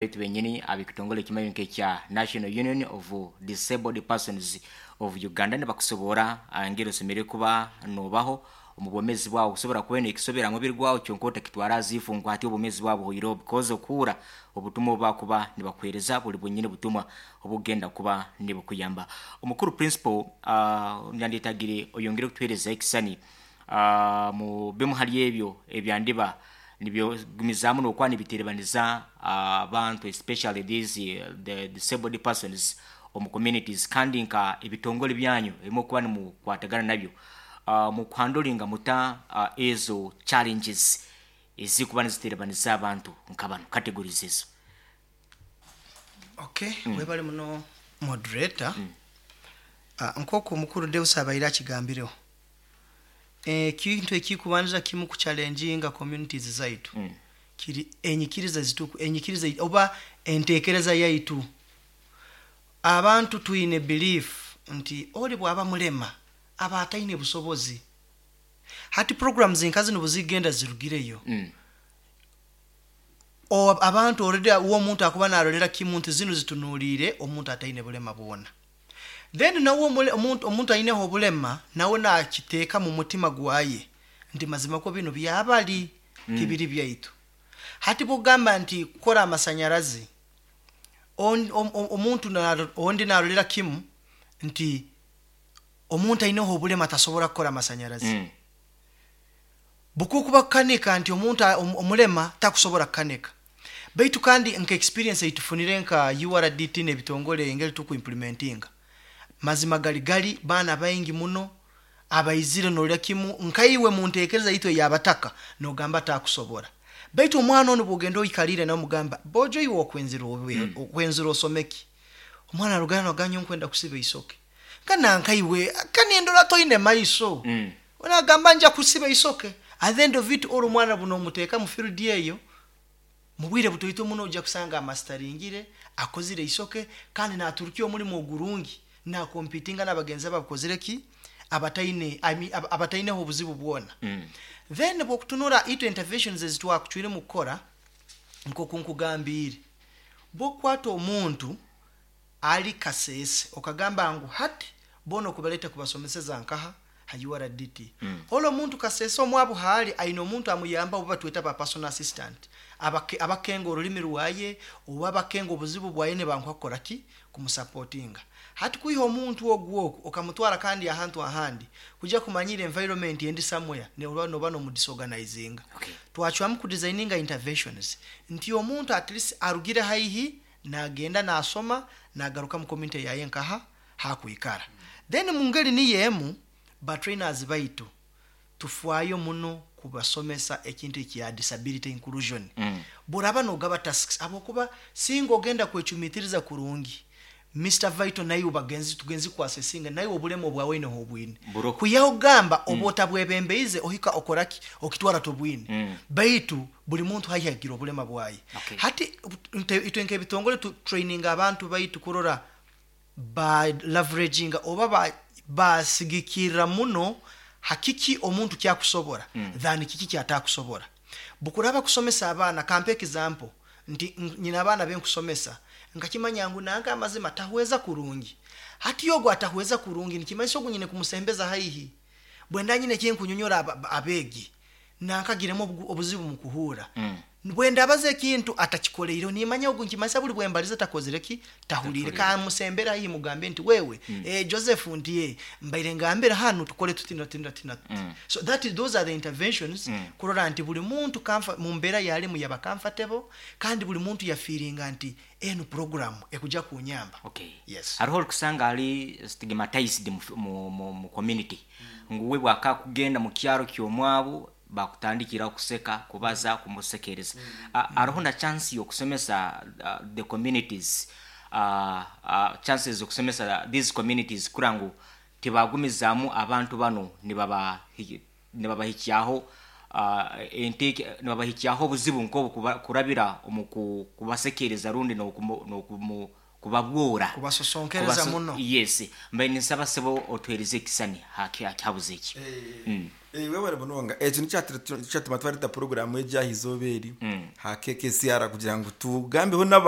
Baitu benyini ab'ekitongole ekimanyi nk'ekya National Union of Disabled Persons of Uganda nibakusobora engeri osemeriire kuba noobaho omu bwomeezi bwawe. Kusobora kuba nekisobera ha mubiri gwawe kyonka otakitwara aziifu ngu hati obwomeezi bwawe buhoireho, because okuhurra obutumwa obu bakuba nibakuheereza buli bwenyini butumwa obukugenda kuba nibukuyamba. Omukuru principal, nyandyetagire oyongere kutuheereza ekisisani mu bimu hali ebyo ebyandiba nibyogumizaamu n'okuba nibiterebaniza abantu, especially these the disabled persons omu communities, kandi nka ebitongole byanyu ebimu okuba nimukwatagana nabyo mukuhandolinga muta ezo challenges ezikuba niziterebaniza abantu nka banu categories ezo? Okay, webale muno moderator. Nk'oku mukuru Deus abaire akigambireho, ekintu ekikubanza kimu kuchallenginga communities zaitu kiri enyikiriza zituku enyikiriza oba entekereza yaitu. Abantu twine belief nti oli bwaba mulema aba ataine busobozi. Hati programs nka zinu buzigenda zirugireyo, abantu already uwo omuntu akuba narolera kimu nti zinu zitunuliire omuntu ataine bulema bwona. Then nawe omuntu aineho obulema nawe nakiteeka mu mutima gwaye nti mazima kwo binu byabali, tibiri byaitu. Hati bwogamba nti kukora amasanyarazi, omuntu ondi narolera kimu nti omuntu aineho obulema tasobora kukora amasanyarazi. Bukukuba kukanika nti omuntu omulema takusobora kukanika. Baitu kandi nka experience eitufunire nka URDT n'ebitongole engeri tukuimplementinga, mazima gali gali baana baingi muno abaizire norora kimu nkaiwe muntekereza yaitu ey'abataka nogamba takusobora. Baitu omwana onu bwogenda oikalire nawe omugamba, bojo iwe okwenzire okwenzire osomeki? Omwana arugayo nagamba nyowe nkwenda kusiba isoke. Nka nankaiwe kanindora toine maiso. Nagamba nja kusiba isoke. At the end of it all omwana buno omuteeka mu field eyo, mu bwire butoito muno ojja kusanga amasitaringire, akozire isoke kandi naturukya omulimo ogurungi, nakompitinga n'abagenzi be abakozire ki? Abataine, I mean, abataineho obuzibu bwona. Then bwokutunura itwe interventions ezitwakucwiremu kukora, nkoku nkugambiire, bwokukwata omuntu ali Kasese okagamba ngu hati boona okubaleta kubasomeseza nkaha ha URDT. Ole omuntu Kasese omwabu haali aine omuntu amuyamba obu batweta ba personal assistant abakenga orulimi rwaye oba abakenga obuzibu bwaye nibanguha kukora ki? Kumusapotinga. Hati kwiha omuntu ogu oku okamutwara kandi ahantu ahandi kuja kumanyira environment endi somewhere noba noba nomudisorganizinga. Twacwamu kudesigninga interventions nti omuntu at least arugire haihi nagenda nasoma nagaruka mu community yaye nkaha hakwikara. Then mungeri niyo emu ba trainers baitu tufwayo muno kubasomesa ekintu ekya disability inclusion. Boraba nogaba tasks habwokuba singa ogenda kwecumitiriza kurungi Mister Vital naiwe bagenzi tugenzi kuasesinga naiwe obulema obwawe oineho obwine. Kwihaho kugamba oba otabwebembeize ohika okoraki okitwara tobwine. Baitu buli muntu haihi agira obulema bwaye. Hati itwe nk'ebitongole tu traininga abantu baitu kurora ba leveraginga oba basigikirra muno ha kiki omuntu kyakusobora than kiki kyatakusobora. Bukuraba kusomesa abaana, kampe example nti nyine abaana benkusomesa nkakimanya ngu nanka amazima tahweza kurungi. Hati ogu atahweza kurungi nikimanyisa ogu nyine kumusembeza haihi. Bwenda nyine ekinkunyonyora abeegi nankagiremu obuzibu mukuhuura. Bwendabaza ekintu atakikoleireho nimanya ogu nikimanyisa buli bwembaliza takozire ki? Tahuliire. Kamusembere haihi mugambe nti wewe Joseph nti mbaire ngambire hanu tukole tuti na tuti na tuti na tuti. So that those are the interventions kurora nti buli muntu mumbeera yalimu yaba comfortable kandi buli muntu yafiiringa nti enu program ekuja kunyamba. Okay. Yes. Haroho orikusanga ali stigmatized mu community ngu we bwakakugenda mu kyaro ky'omwabu bakutandikiraho kuseka, kubaza, kumusekereza. Haroho na chance y'okusomesa the communities, chances z'okusomesa these communities kurora ngu tibagumizaamu abantu banu nibabahikyaho nibabahikyaho obuzibu nk'obu kurabira omu kubasekereza rundi n'okumu. Kubabwora. Kubasosonkereza muno. Yes, mbaire ninsaba sebo otuhereze ekisani hakihabuzo eki. Webale munonga. Ekyo nikyo kyatuma twareta puroguramu egi aha izooba eri ha KKCR kugira ngu tugambeho n'abantu.